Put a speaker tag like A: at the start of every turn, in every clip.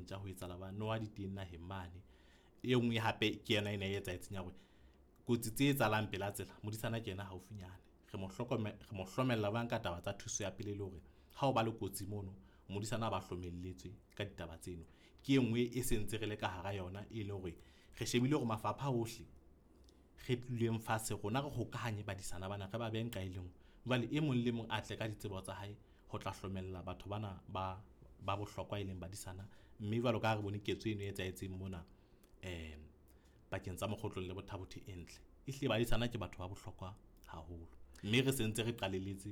A: dintja ho etsahala ba noha di teng naheng mane. E nngwe hape ke yona ena e etsahetseng ya hore kotsi tse etsahalang pela tsela, modisana ke yena haufinyane. Re mo re mo hlomella jwang ka taba tsa thuso ya pele le hore ha o ba le kotsi mono, modisana ba hlomelletswe ka ditaba tseno. Ke e nngwe e sentse re le ka hara yona e leng hore re shebile hore mafapha ohle re tlileng fatshe rona re hokahanye badisana bana re ba behe nqa e le nngwe. Jwale e mong le mong a tle ka ditsebo tsa hae ho tla hlomella batho bana ba bohlokwa e leng badisana. Mme jwalo ka ha re bone ketso eno e etsahetseng mona pakeng tsa Mokgotlong le Botha-Bothe e ntle. Ehlile badisana ke batho ba bohlokwa haholo. Mme re sentse re qalelletse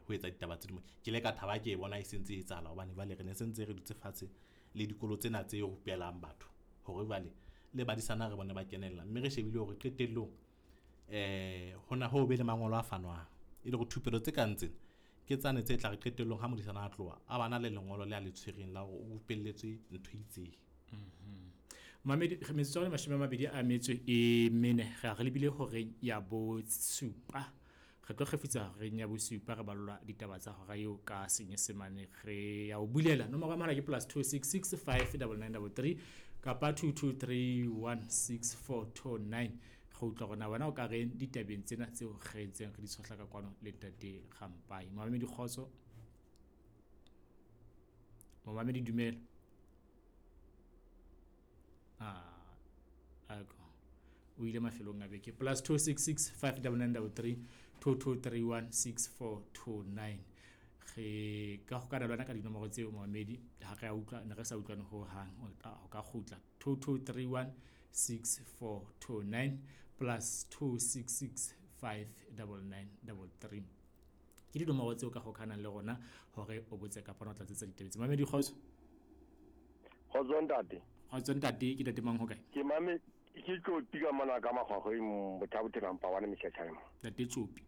A: ho etsa ditaba tse dimo. Ke ile ka thaba ke e bona e sentse e etsahala hobane jwale re ne sentse re dutse fatshe le dikolo tsena tse rupelang batho hore jwale le badisana re bone ba kenella. Mme re shebile hore qetellong hona ho be le mangolo a fanwang e le hore thupelo tse kang tsena ke tsane tse tla re qetellong ha modisana a tloha a bana le lengolo le a le tshwereng la hore o rupelletswe ntho e itseng.
B: Mamedi metsotso e 24 re a re lebile horeng ya bosupa. Re tlo kgefutsa horeng ya bosupa re ballwa ditaba tsa hora eo ka Senyesemane. Re ya o bulela nomoro ya mohala ke +266 59933 kapa 22316429. Re utlwa hore na wena o ka reng ditabeng tsena tseo re ntseng re di tshohla ka kwano le ntate Rampai. Mamedi kgotso. Momamedi dumela. Ako o ile mafelong a beke. +266 59933 22316429. Re ka hokana le wena ka dinomoro tseo momamedi ha re a utlwa ne re sa utlwane ho hang o ka kgutla 22316429 +266 59933. Ke dinomoro tseo ka hokanang le rona hore o botse kapa o tlatsetsa ditaba tse. Mamedi kgotso.
C: Kgotso ntate.
B: Kgotso ntate, ke ntate mang ho kae?
C: Ke mame ke Tsopi ka mona ka Makgwakgweng Botha-Bothe number 1 Mehletshane mo.
B: Ntate Tsopi.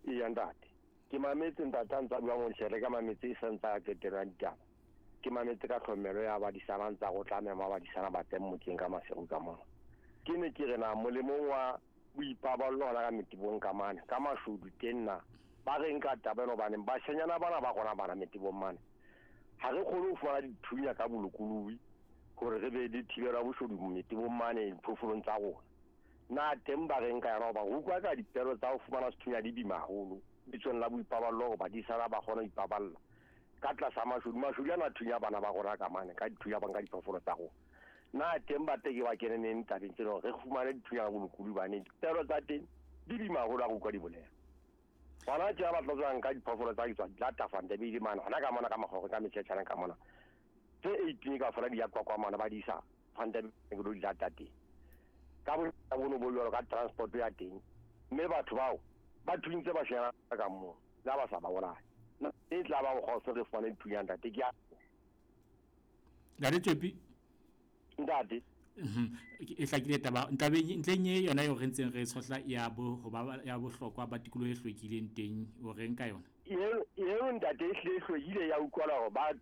C: Eya ntate. Ke mametse ntate a ntsa bua mo ka mametse e santsa a qetela ditaba. Ke mametse ka tlhomelo ya badisana ntsa go tla mema badisana ba teng motseng ka Maseru ka mona. Ke ne ke re na molemong wa boipaballo hona ka metebong ka mane ka mashodu teng na ba reng ka taba eno hobane bashanyana bana ba rona bana metebong mane ha re kgone ho fumana dithunya ka bolokolohi hore re be le thibelo ya boshodu metebong mane diphoofolong tsa rona. Na teng ba reng ka yona hoba re utlwa ka dipelo tsa ho fumana sethunya di bima haholo bitsong la boipaballo hore badisana ba kgone ho ipaballa ka tlasa mashodu. Mashodu ana thunya bana ba rona ka mane ka dithunya ba nka diphoofolo tsa rona. Na teng ba teke ba kene neng tabeng tsena hore re fumane dithunya ka bolokolohi bane dipelo tsa teng di bima haholo ha re utlwa di bolela. Bana tje ba tla tswang ka diphoofolo tsa tswa di lata fanta be di mane hona ka mona ka Makgwakgweng ka Mehletshane ka mona tse 18 ka fela di ya kwa mona ba di isa fanta be di lata teng ka bono bo jwalo ka transport ya teng mme batho bao ba thuntse ba shera ka mo la ba sa ba bolaye e tla ba go re fumane dithunya ntate ke ya
B: Ntate Tsopi.
C: Ntate.
B: E hlakile taba ntabeng ntleng e yona eo re ntseng re tshohla ya bo ho ba ya bohlokwa ba tikoloho e hlwekileng teng o reng ka yona?
C: Eo ntate e hlile hlwekile ya utlwala hore ba re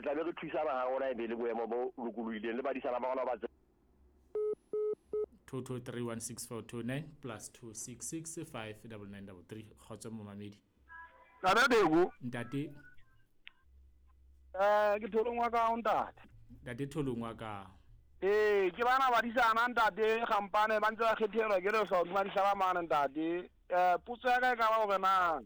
C: tla be re thusana ha rona e be le boemo bo lokolohileng le badisana ba rona ba
B: 22316429 +266 59933. Kgotso momamedi.
D: Ntate Beko.
B: Ntate.
D: Ke Tholong wa ka ntate.
B: Ntate Tholong wa ka.
D: Ke bana badisana ntate Gampane ba ntse ba kgethelwa ke re sa badisana mane ntate. Potso ya ka e ka ba hore na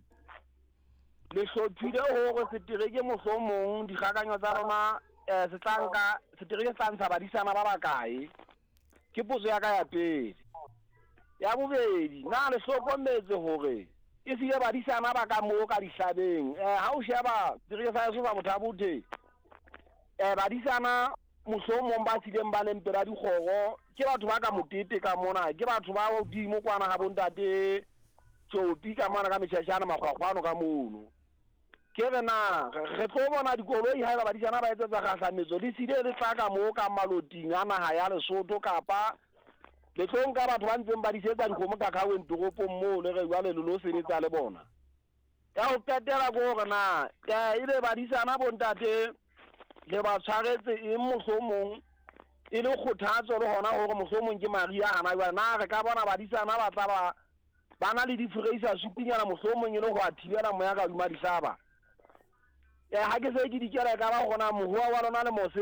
D: le hlophile hore setereke mohlomong dikgakanyo tsa rona se tla nka setereke se tla ntsha badisana ba bakae? Ke potso ya ka ya pele. Ya bobedi, na le hlokometse hore e sile badisana ba ka moo ka dihlabeng? Ha o sheba setereke sa heso sa Botha-Bothe, badisana mohlomong ba sileng ba leng pela dikgoro ke batho ba ka motete ka mona, ke batho ba hodimo kwana ha bontate Tsopi ka mona ka Mehletshane Makgwakgwano ka mono. Ke re na re tlo bona dikoloi haeba badisana ba etsetsa kgahlametso le sile le tla ka moo ka maloting a naha ya Lesotho kapa le tlo nka batho ba ntseng ba disetsa dikgomo ka kgaweng toropong moo le re jwale le lo sebetsa le bona. Ya ho qetela ke hore na ebe badisana bontate le ba tshwaretse eng mohlomong e le kgothatso le hona hore mohlomong ke Maria hana jwale na re ka bona badisana ba tla ba ba na le diforeisa supinyana mohlomong e le ho a thibela moya ka hodima dihlaba. Ha ke se ke dikela e ka ba hona mohoa wa lona le mose ka